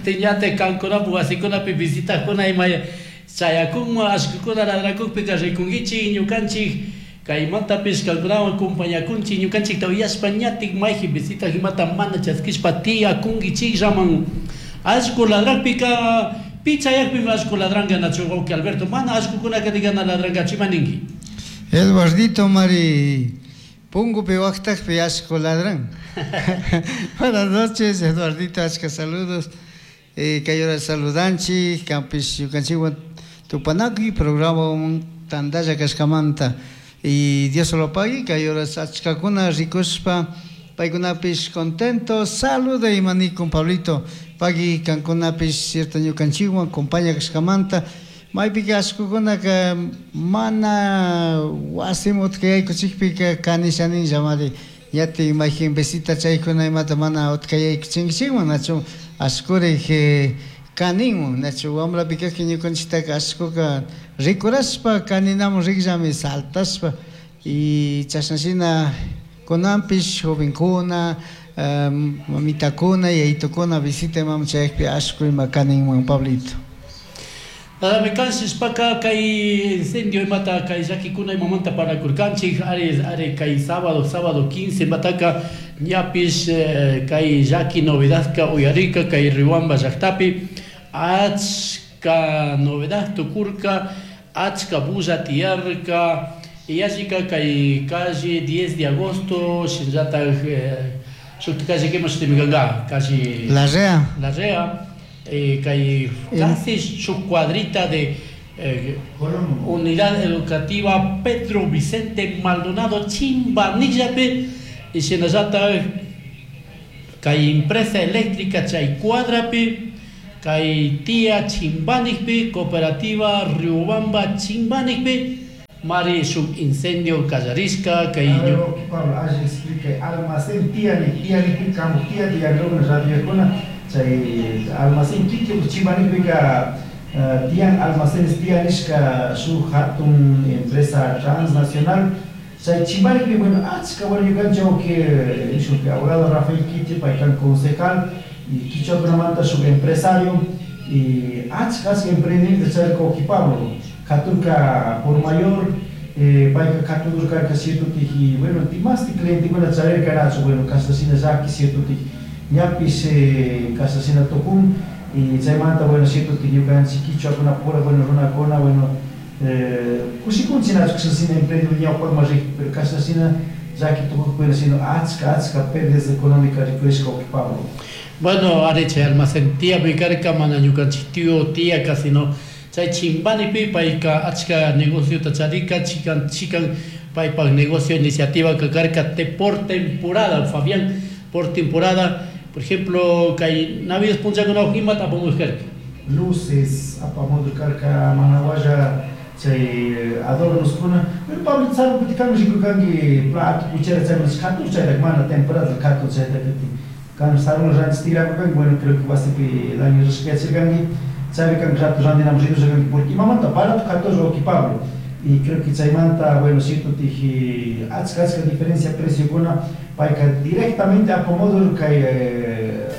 Kutin kankunapak wasikunapi visitakuna ima chayakunman allqukuna ladrakukpika rikunkichik ñukanchik kaymantapish kankunawan compañakunchik ñukanchikta uyashpa ñatik mayji visita imata mana chaskishpa tiyakunkichikllaman. Allqu ladrakpika pi chayakpimi allqu ladranka nachu wawqi Alberto, mana allqukunaka digana ladrankachu, ima ninki? Eduardito mari punkupi waqtakpi allqu ladran. Buenas noches, Eduardito, achka saludos. Kay hora saludanchik, kanpish ñukanchikwan tupanakuy programa tantalla kashkamanta. Y Dios lo pague, kay horas achkakuna rikushpa paykunapish contento, saluda imanikun Pablito. Pagui kankunapish cierto ñukanchikwan compaña kashkamanta. Maypika allqukunaka mana wasiman utkayaykuchikpika kanishaninlla mari ñatin mayjin visita chaykuna imata mana utkayaykuchinkichikman nachu allqurik kaninman nachu wamrapi kajpi ñukanchiktaka allquka rikurashpa kaninamun rikllami saltashpa y chashnashina kunanpish jovenkuna mamitakuna yayitukuna visita imaman chayakpi allqu ima kaninman, Pablito. Nadami kanshishpaka kay incendio imata kay llakikuna imamanta parlakurkanchik ari ari kay sábado 15 imataka ñapish kay llaki novedadka uyarika kay Riobamba llaktapi achka novedad tukurka, achka bulla tiyarka yallika kay calle 10 de agosto shinallatak shuk calle que shutimi kanka calle Larrea. Larrea, kay casi su cuadrita de Unidad Educativa Pedro Vicente Maldonado Chimbanillapi y shinallatak kay empresa eléctrica chay cuadrapi kay tía Chimbanikpi cooperativa Riobamba Chimbanikpi mari shuk incendio kallarishka kay A ver, Pablo, alli explica almacén tía ni tía ni kamu tía tía no radio chay almacén kiki Chimbanikpika tiyan almacenes tía nishka shuk hatun empresa transnacional chay Chimbanikpi bueno achka bueno ñukanchik que shuk abogado Rafael Quiti paykan concejal y kichwakunamanta shuk empresario y achka achka emprendimiento charka Pablo katurka por mayor payka katudurkarka cierto y bueno timasti clientekuna charirka nachu bueno kashna llaki cierto ñapish kashna tukun y chaymanta bueno cierto ñukanchik kichwakunapura bueno runakuna bueno kushikunchik nachu kashna emprendimiento ñawpakman rik pero kashna llaki tukukpina sino achka achka pérdidas económicas rikurishka Pablo. Bueno, ari chay almacén tía karka mana ñukanchik tío tía casi no chay Chimbanipi payka achka negociota charika chikan chikan paypak negocio iniciativa karka te por temporada Fabián por temporada por ejemplo kay Navidad punchakuna imata apamush karka luces apamudur karka manawalla chay adornos kuna pero Pablo sabe kuti kan rikurkanki plato cuchara chay katur chayta mana temporada katur chayta kuti kan sarun ranchis tirakurkanki bueno creo que wasipi daño rishkachirkanki chaypi kan rato randinamun ridurkanki porque imamanta barato katur Pablo y creo que chaymanta bueno cierto tiji achka achka diferencia preciokuna payka directamente apamudur kay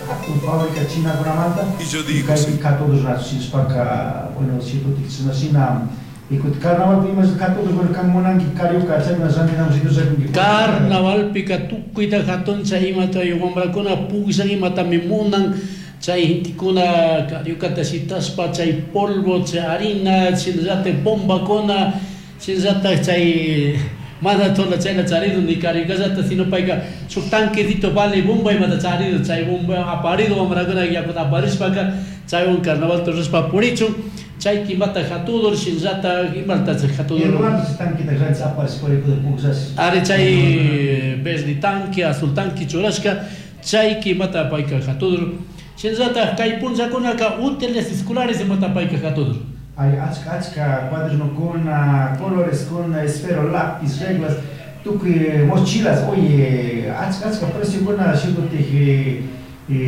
hatun fábrica chinakunamanta Y yo digo, kaypi sí. katudur nachu shinashpaka bueno cierto tiji shina y kuti carnavalpi ima katudur bueno kan munanki carioca chaykuna randinamun ridurkanki Carnavalpika tukuyta hatuncha imata wamrakuna pukllan imatami munan chay gentekuna cariocata shitashpa chay polvo chay harina shinallatak bombakuna shinallatak chay mana tola chayla charido ni cariocallata sino payka shuk tanquecito vale bomba imata charido chay bomba aparido wamrakuna yakuta aparishpaka chaywan carnaval rurashpa purichun chay kimata hatudur shinallatak imalta chay hatudur Eduardo tanquita ranchis aparish purikuda pukllash ari chay verde tanque azul tanque churashka chay kimata payka hatudur shinallatak kay punllakunaka útiles escolares imata payka hatudur Hay achka achka cuadernokuna, coloreskuna, esfero, lápiz, reglas, tukuy mochilas, oye, achka achka preciokuna shukutij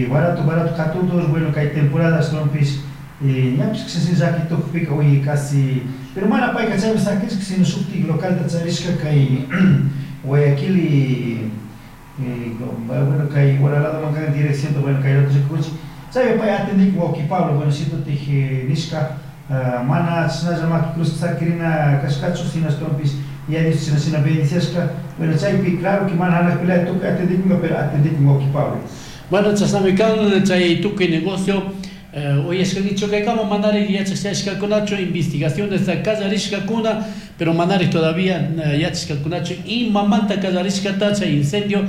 barato barato katudur, bueno kay temporadas ashtawanpish ñapish kashna llaki tukpika oye casi pero mana payka chaypi sakishka sino shuktik localta charishka kay Guayaquil y bueno kay Huaralado kan dirección bueno kay otro rikuchi. Chay pay atendikun wawqi Pablo, bueno, shitutik nishka mana chashnalla maki cruz sakirina kashkachu, sino ashtawanpish Yaya Dios chashna shina bendiciashka. Bueno, chaypi claro que mana hanakpilaya tukuy atendikunka, pero atendikun wawqi Pablo. Bueno, chashnami kan chay tukuy negocio uyashkankichu kaykama manari yachashkakunachu investigaciones kallarishkakuna, pero manari todavía yachashkakunachu imamanta kallarishkata chay incendio,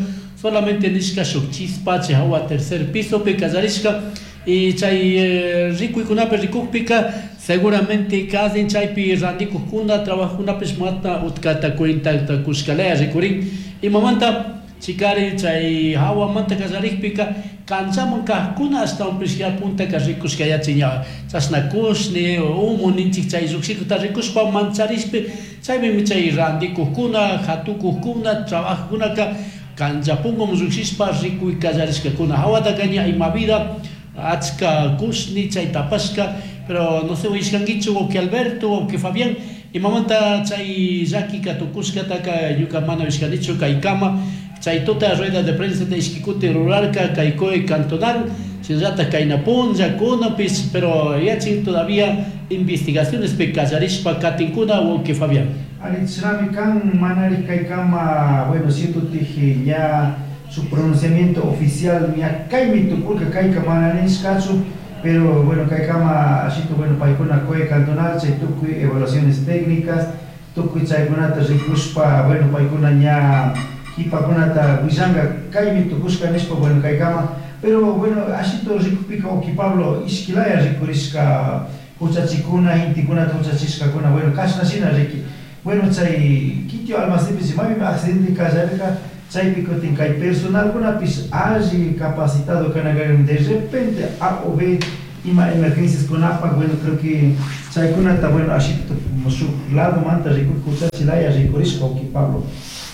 solamente nishka shuk chispa chay hawa tercer pisopi kallarishka y chay rikuykunapi rikukpika seguramente kazin chaypi randikukkuna trabajkunapish mata utkata cuentata kushkalaya rikurin imamanta chikari chay hawamanta kallarikpika kanchaman kajkuna ashtawanpish ya puntaka rikushka yachin ña chashna kushni humo ninchik chay llukshikuta rikushpa mancharishpi chaypimi chay randikukkuna hatukukkuna trabajkunaka kancha punkuman llukshishpa rikuy kallarishkakuna hawataka ña ima vida achka kushni chay tapashka, pero no sé uyashkankichu wawqi Alberto, wawqi Fabián, imamanta chay llakika tukushkataka ñuka mana uyashkanichu kaykama. Chay tuta rueda de prensa ishki kutin rurarka kay COE cantonal, shinallatak kayna punlla kunapish, pero yachin todavía investigacionespi kallarishpa katinkuna, wawqi Fabián. Ari, chashnami kan manari kaykama, bueno, cierto ña su pronunciamiento oficial ña kaymi tukurka kayka mana nishkachu, pero bueno, kaykama ashito, bueno, paykuna COE cantonal chay tukuy evaluaciones técnicas tukuy chaykunata rikushpa, bueno, paykuna ña kipakunata willanka kaymi tukushka nishpa, bueno, kaykama, pero bueno, ashito rikupika wawqi Pablo ishkilaya rikurishka huchachikuna intikunata huchachishkakuna, bueno, kashna shina riki, bueno, chay kitio almacenpi maypi accidente kallarka chaypi kutin kay personalkunapish alli capacitado kana de repente A o B ima emergencias kunapak, bueno, creo que chaykunata, bueno, ashito shuk lado manta rikuk huchachilaya rikurishka wawqi Pablo.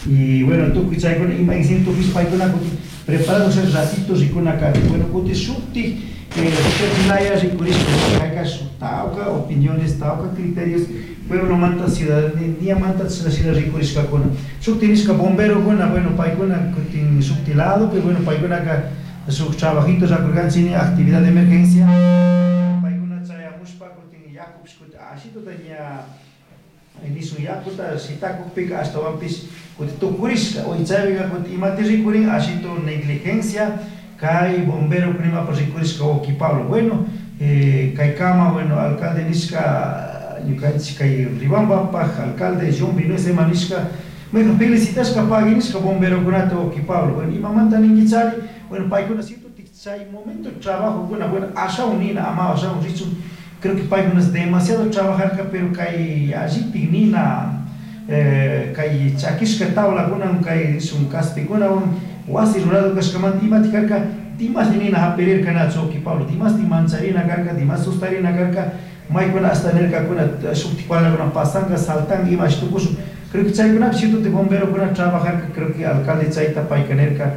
Y bueno, tukuy chaykuna ima incidente tukuy paykuna kutin preparados el ratito rikuna kari, bueno, kutin shuktik huchachilaya rikurishka kayka tawka opiniones, tawka criterios pueblo manta ciudadanía manta chashna rikurishkakuna shukti nishka bomberokuna, bueno, paykuna kutin shukti lado, pero bueno, paykunaka shuk trabajito rakurkanchik actividad de emergencia paykuna chayamushpa kutin yakupish kutin ashituta ña nisun yakuta shitakukpika ashtawanpish kutin tukurishka uy chaypika kutin imati rikurin ashito negligencia kay bombero imapak rikurishka wawqi Pablo. Bueno, kaykama, bueno, alcalde nishka ñukanchik kay Riobambapak alcalde John Vinuesa nishka, bueno, felicitashka pagui nishka bomberokunata wawqi Pablo. Bueno, imamanta ninkichari, bueno, paykuna cierto chay momento trabajokuna, bueno, ashawan nina ama ashawan richun, creo que paykuna es demasiado trabajarka, pero kay allitik nina kay chakishka tablakunawan kay nishun kaspikunawan wasi rurado kashkamanta imatik karka dimasmi nina hapirirka nachu wawqi Pablo, dimasmi mancharina karka, dimas sustarina karka, maykuna hasta nirkakuna shuktik palakuna pasanka saltanka imashi tukushun, creo que chaykunapi cierto bomberokuna trabajarka, creo que alcalde chayta payka nirka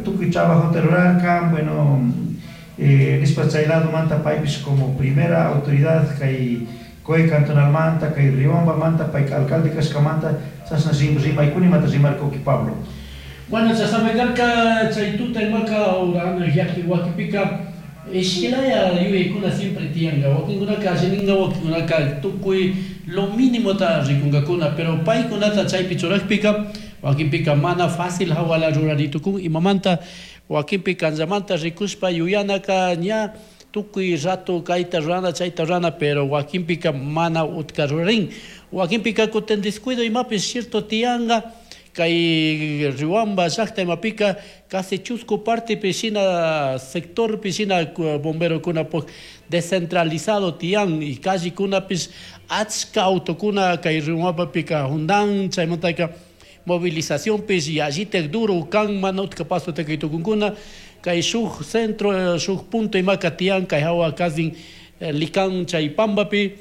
tukuy trabajota rurarka, bueno, nishpa chay ladomanta paypish como primera autoridad kay COE cantonalmanta kay Riobambamanta payka alcalde kashkamanta chashna rimaykuna imata rimarka wawqi Pablo. Bueno, chashnami karka chay tuta imaka urana llaki wakipika ishkilaya yuyaykuna siempre tiyanka, wakinkunaka allininka, wakinkunaka tukuy lo mínimota rikunkakuna, pero paykunata chaypi churakpika wakinpika mana fácil hawala ruraritukun imamanta wakinpi kanchamanta rikushpa yuyanaka ña tukuy rato kayta rurana chayta rurana, pero wakinpika mana utka rurarin, wakinpika kutin descuido imapish cierto tiyanka kay Riobamba llakta imapika casi chusku partepi shina sectorpi shina bomberokuna descentralizado tiyan y callekunapish achka autokuna kay Riobambapika jundan chaymantaka movilizacionpish yallitak duro kan mana utka paso tukunkuna kay shuk centro shuk punto imaka tiyan kay hawa casi Lican chay pambapi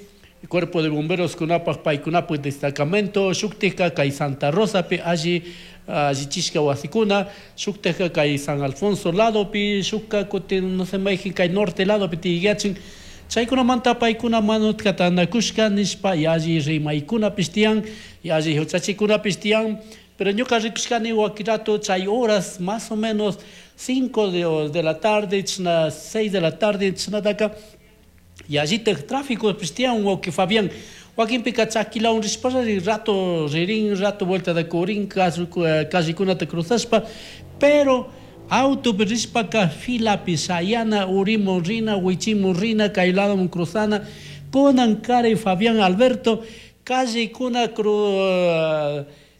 cuerpo de bomberos kunapak paykunapak destacamento shuktika kay Santa Rosapi alli allichishka wasikuna shuktika kay San Alfonso ladopi shukka kutin no sé mayjin kay norte ladopi tiyachin chaykunamanta paykuna mana utka tanakushka nishpa yalli rimaykunapish tiyan yalli huchachikunapish tiyan, pero ñuka rikushkani wakin rato chay horas más o menos 5 de la tarde, 6 de la tarde, chishnataka yallitaj tráfico tiyan wawki Fabián. Wakinpika chakilawan rishpalla rato ririn, rato vuelta de kurin, callekunata cruzashpa, pero autopi rishpaka filapi shayana, urimun rina, wichimun rina, kay ladomun cruzana, kunan kari Fabián Alberto, callecuna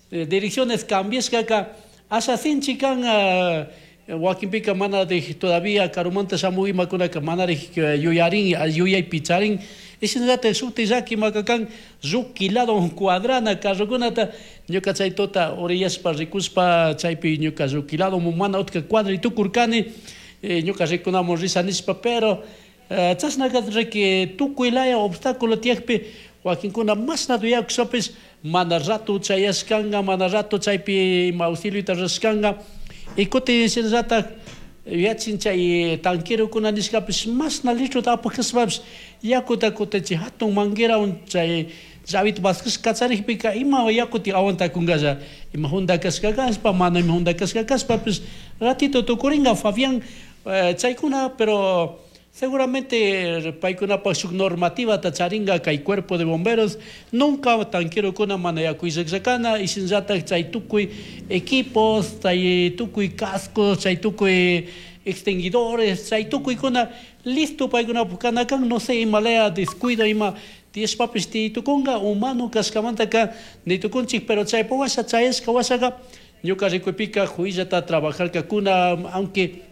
direcciones cambiashkaka, asha sinchi kan wakinpika mana de todavía karumanta shamuy imakunaka manarik yuyarin, yuyaypi charin, shinallatak shuti llaki makakan lluki lado cuadrana carrokunata, ñuka chay tuta oriyashpa rikushpa chaypi ñuka lluki lado mana utka cuadra tukurkani, ñuka rikunamun risha nishpa, pero chashnaka riki tukuy laya obstáculo tiyakpi wakinkuna mashna yuyakushpapish mana rato chayashkanka, mana rato chaypi ima auxiliota rurashkanka. Y kutin shinallatak yuyachin chay tanquerokuna nishkapish mashna litrota apakashpapish yakuta kutin chay hatun manguerawan chay llavita vaskashka kacharikpika ima yakuti aguantakunkalla, ima junda kashka kashpa, mana ima junda kashka kashpapish ratito tukurinka Fabián, chaykuna, pero seguramente paykunapak shuk normativata charinka kay cuerpo de bomberos, nunca tanquerokuna mana yaku illakllakana, y shinallatak chay tukuy equipos, chay tukuy cascos, chay tukuy extinguidores, chay tukuykuna listo paykunapak kana kan, no sé imalaya descuido ima tiyashpapish tiytukunka humano kashkamantaka nitukunchik, pero chaypa washa chayashka washaka ñuka rikuypika juyllata trabajarkakuna, aunque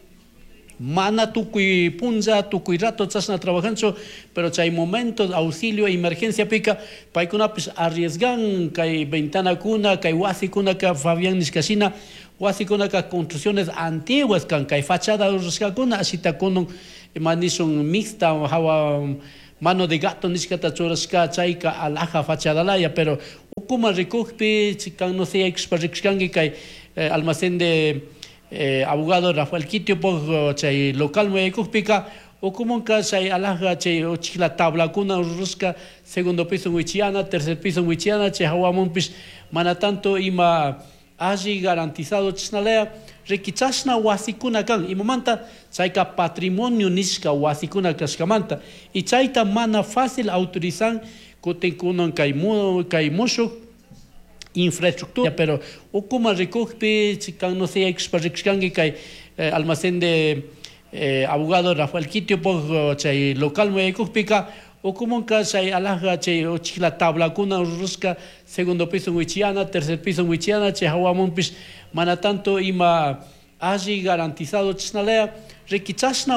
mana tukuy punlla, tukuy rato chashna trabajanchu, pero chay momento de auxilio, emergencia pika, paykunapish arriesgan kay ventanakuna, kay wasikunaka, Fabián nishkashina, wasikunaka construcciones antiguas kan, kay fachada rurashkakuna, ashita kunun, ima nishun mixta, hawa mano de gato nishkata churashka, chayka alhaja fachadalaya, pero ukuma rikukpi, chikan no sé, aykushpa rikushkanki kay almacén de abogado Rafael Quitio, chay local muyaykukpika, ukumunka chay alhaja, chay uchikla tablakuna rurashka, segundo piso wichiana, tercer piso wichiana, chay hawamunpish mana tanto ima alli garantizado chishnalaya, riki chashna wasikuna kan, imamanta chayka patrimonio nishka wasikuna kashkamanta, y chayta mana fácil autorizan kutin kunan kay mushuk infraestructura, pero ukuma rikukpi, chikan no sé, aykushpa rikushkanki kay almacén de abogado Rafael Quitio, chay local muyaykukpika, ukumunka chay alhaja, chay uchikla tablakuna rurashka, segundo piso wichiana, tercer piso wichiana, chay hawamunpish mana tanto ima alli garantizado chishnalaya, riki chashna.